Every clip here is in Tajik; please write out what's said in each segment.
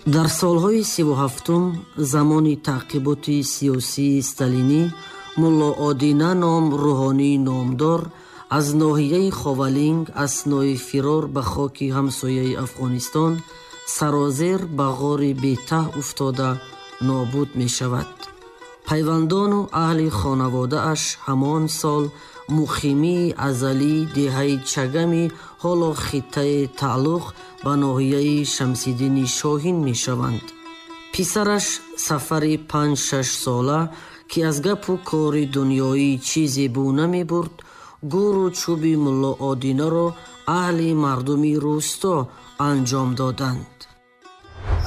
Дар солҳои 37-ум замони таъқиботи сиёсии сталинӣ Мулло Одина ном рӯҳонии номдор аз ноҳияи Ховалинг аснои фирор ба хоки ҳамсояи Афғонистон сарозер ба ғори бетаҳ уфтода нобуд мешавад. Пайвандону аҳли хонаводааш ҳамон сол муқимии азалии деҳаи Чагами ҳоло хиттаи тааллуқ ба ноҳияи Шамсиддини Шоҳин мешаванд. Писараш Сафари 5-6 сола, ки аз гапу кори дунёӣ чизе бу намебурд, гӯру чӯби Мулло Одинаро аҳли мардуми рӯсто анҷом доданд.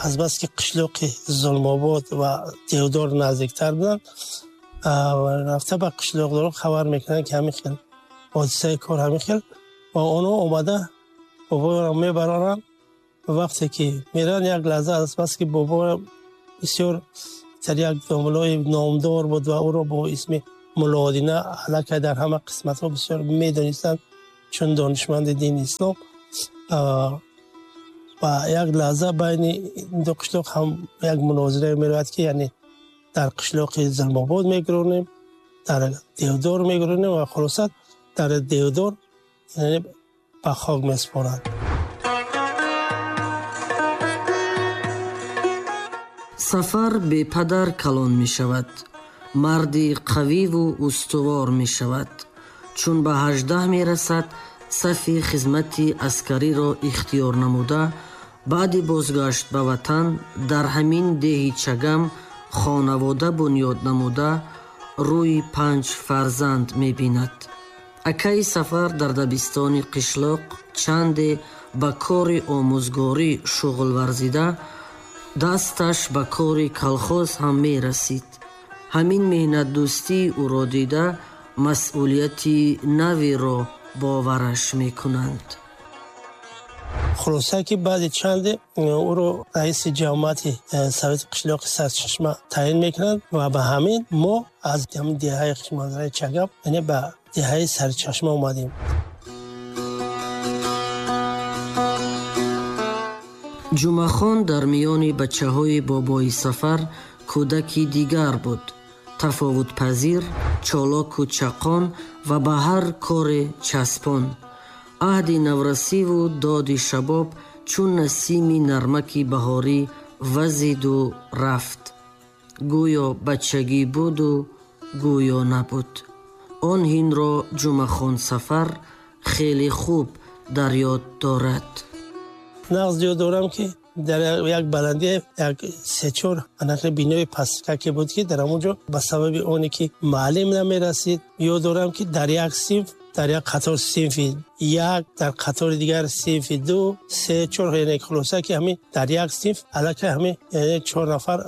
Азбаски қишлоқи Зулмобод ва Девдор наздиктар буданд, рафта ба қишлоқдорон хабар мекунанд, ки ҳамин хел ҳодисаи кор ҳамин хел, ва онҳо омада боборо мебароранд. Вақте ки мераванд, як лаҳза азбаски боборо бисёр дар як домлои номдор буд ва ӯро бо исми Мулло Одина аллакай дар ҳама қисматҳо бисёр медонистанд, чун донишманди дини ислом. Ва як лаҳза байни ду қишлоқ ҳам як мунозира меравад, ки яъне дар қишлоқи Зулмобод мегуронем, дар Девдор мегуронем ва хулоса дар Девдор яъне ба хок месупоранд. Сафар бепадар калон мешавад, марди қавиву устувор мешавад. Чун ба 18 мерасад, сафи хизмати аскариро ихтиёр намуда, баъди бозгашт ба ватан дар ҳамин деҳи Чагам хонавода бунёд намуда, рӯи 5 фарзанд мебинад. Акаи Сафар дар дабистони қишлоқ чанде ба кори омӯзгорӣ шуғл варзида, дасташ ба кори колхоз ҳам мерасид. Ҳамин меҳнатдӯстии ӯро дида, масъулияти наверо бовараш мекунанд. Хулоса ки баъди чанде ӯро раиси ҷамоати совети қишлоқи Сарчашма таъин мекунанд ва ба ҳамин мо аз ҳамин деҳаи манзараи Чагам, яъне ба деҳаи Сарчашма омадем. Ҷумъахон дар миёни бачаҳои бобои Сафар кӯдаки дигар буд, тафовутпазир, чолоку чақон ва ба ҳар коре часпон. Аҳди наврасиву доди шабоб чун насими нармаки баҳорӣ вазиду рафт. Гӯё бачагӣ буду гӯё набуд. Он ҳинро Ҷумъахон Сафар хеле хуб дар ёд дорад. Нағз ёд дорам, ки дар як баландӣ як се-чор анақи бинои пасткаке буд, ки дар ҳамон ҷо ба сабаби оне ки муаллим намерасид, ёд дорам, ки дар як синф, дар як қатор синфи як, дар қатори дигар синфи 2, 3, 4, яъне хулоса ки ҳамин дар як синф аллакай ҳамин яъне 4 нафар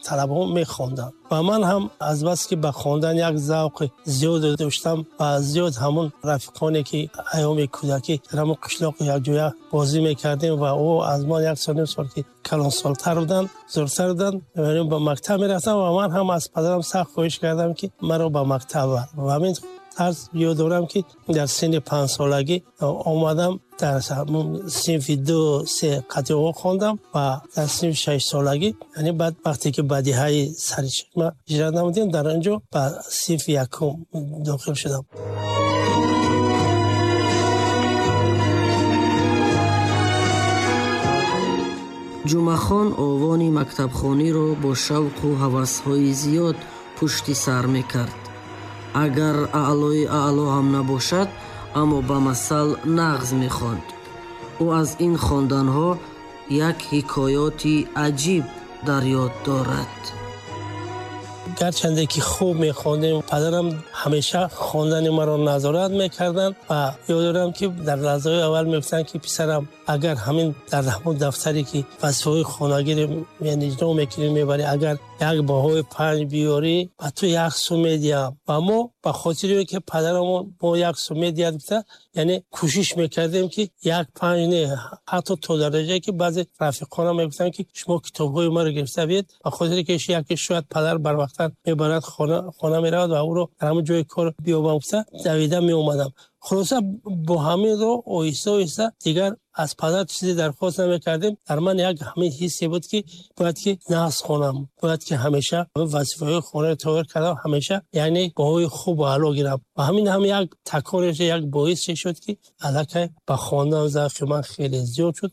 талабаҳо мехонданд. Ва ман ҳам азбаски ба хондан як завқи зиёд доштам ва зиёд ҳамон рафиқоне ки айёми кӯдакӣ дар ҳамон қишлоқ якҷоя бозӣ мекардем ва ӯ аз ман як сол ним сол ки калонсолтар буданд, бузургтар буданд, яъне ба мактаб мерафтам ва ман ҳам аз падарам сахт хоҳиш кардам, ки маро ба мактаб бар. Ва ҳамин тарз ёд дорам, ки дар синни 5 солагӣ омадам, дар синфи 2, 3 қатъиҳо хондам ва дар синфи 6 солагӣ, яъне баъд вақте ки ба деҳаи Сарчашма ҳиҷрат намудем, дар он ҷо ба синфи 1 дохил шудам. Ҷумъахон овони мактабхониро бо шавқу ҳавасҳои зиёд пушти сар мекард. Агар аълои аъло ҳам набошад, аммо ба масал нағз мехонд. Ӯ аз ин хонданҳо як ҳикоёти аҷиб дар ёд дорад. Гарчанде ки хуб мехондем, падарам ҳамеша хондани маро назорат мекарданд ва ёд дорам, ки дар лаҳзаҳои аввал мегуфтанд, ки писарам, агар ҳамин дар ҳамон дафтаре ки вазифаҳои хонагиро яъне иҷро мекунӣ мебарӣ, агар як баҳои 5 биёрӣ, ба ту як сум медиҳам. Ва мо ба хотири он ки падарамон мо як сум медиҳад гуфта, яъне кӯшиш мекардем, ки як 5 не, ҳатто то дараҷае ки баъзе рафиқонам мегуфтанд, ки шумо китобҳои маро гирифта биед, ба хотири ки яке шояд падар барвақттар мебарад, хона меравад ва ӯро дар ҳамон ҷои кор биёбам гуфта давида меомадам. Хулоса, бо ҳамин роҳ оҳиста оҳиста дигар аз падар чизе дархост намекардем. Дар ман як ҳамин ҳиссе буд, ки бояд ки нағз хонам, бояд ки ҳамеша вазифаҳои хонаро тайёр кардам, ҳамеша яъне баҳои хуб аъло гирам. Ва ҳамин ҳам як таконе, як боисе шуд, ки аллакай ба хондан завқи ман хеле зиёд шуд.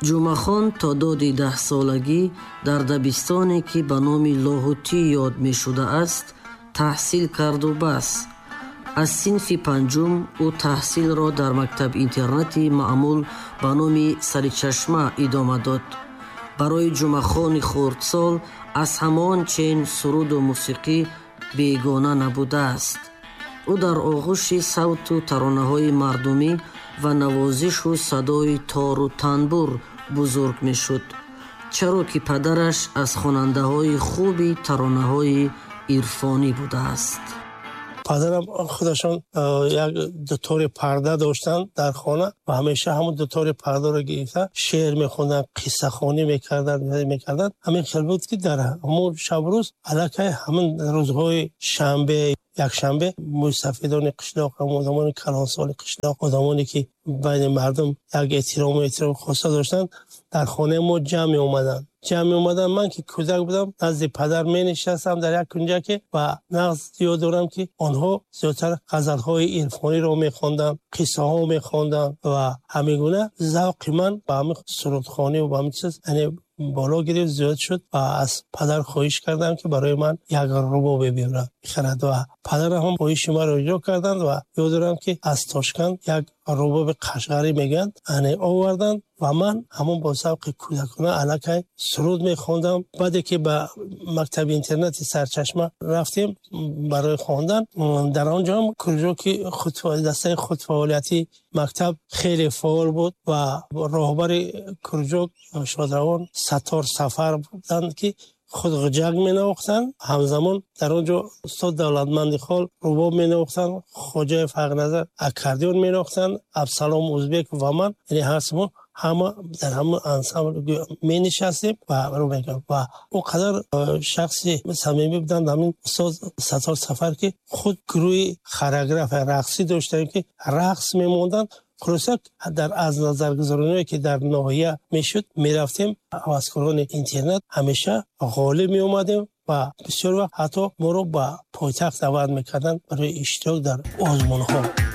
Ҷумъахон то доди 10-солагӣ дар дабистоне, ки ба номи Лоҳутӣ ёд мешудааст, таҳсил карду бас. Аз синфи панҷум ӯ таҳсилро дар мактаб-интернати маъмул ба номи Саричашма идома дод. Барои Ҷумъахони хурдсол аз ҳамон чен суруду мусиқӣ бегона набудааст. Ӯ дар оғӯши савту таронаҳои мардумӣ ва навозишу садои тору танбур бузург мешуд, чаро ки падараш аз хонандаҳои хуби таронаҳои ирфонӣ будааст. Падарам худашон як дутори парда доштанд дар хона ва ҳамеша ҳамон дутори пардаро гирифта шеър мехонданд, қиссахонӣ мекарданд. Ҳамин хел буд, ки дар ҳамон шабрӯз аллакай ҳамин рӯзҳои шанбе, якшанбе мӯйсафедони қишлоқ, одамони калонсоли қишлоқ, одамоне ки байни мардум як эҳтирому эҳтироми хоса доштанд, дар хонаи мо ҷамъ меомаданд. Ҷамъ меомаданд. Ман ки кӯдак будам, назди падар менишастам дар як кунҷаке ва нағз ёд дорам, ки онҳо зиёдтар ғазалҳои ирфониро мехонданд, қиссаҳо мехонданд ва ҳамин гуна завқи ман ба ҳамин сурудхонӣ ва ба ҳамин чиз яъне боло гирифт, зиёд шуд ва аз падар хоҳиш кардам, ки барои ман як рубобе биёрад, бихарад, ва падарам ҳам хоҳиши маро иҷро карданд. Ва ёд дорам, ки аз Тошканд як рубоби қашғарӣ мегӯянд, яъне оварданд ва ман ҳамон бо завқи кӯдакона аллакай суруд мехондам. Баъде ки ба мактаби интернати Сарчашма рафтем барои хондан, дар он ҷо ҳам кружоки дастаи худфаъолиятии мактаб хеле фаъол буд ва роҳбари кружок шодравон Саттор Сафар буданд, ки худ ғиҷак менавохтанд. Ҳамзамон дар он ҷо устод Давлатманди Хол рубоб менавохтанд, Хоҷаев Ҳақназар аккордеон менавохтанд, Абсалом Узбек ва ман, яъне ҳар мо ҳама дар ҳамон ансамбл менишастем ва рӯ мекардем. Ва он қадар шахси самимӣ буданд ҳамин устод Саттор Сафар, ки худ гурӯҳи хореография рақсӣ доштанд, ки рақс мемонданд. Хулоса, дар аз назаргузарониҳое ки дар ноҳия мешуд, мерафтем, ҳаваскорони интернат ҳамеша ғолиб меомадем ва бисёр вақт ҳатто моро ба пойтахт даъват мекарданд барои иштирок дар озмунҳо.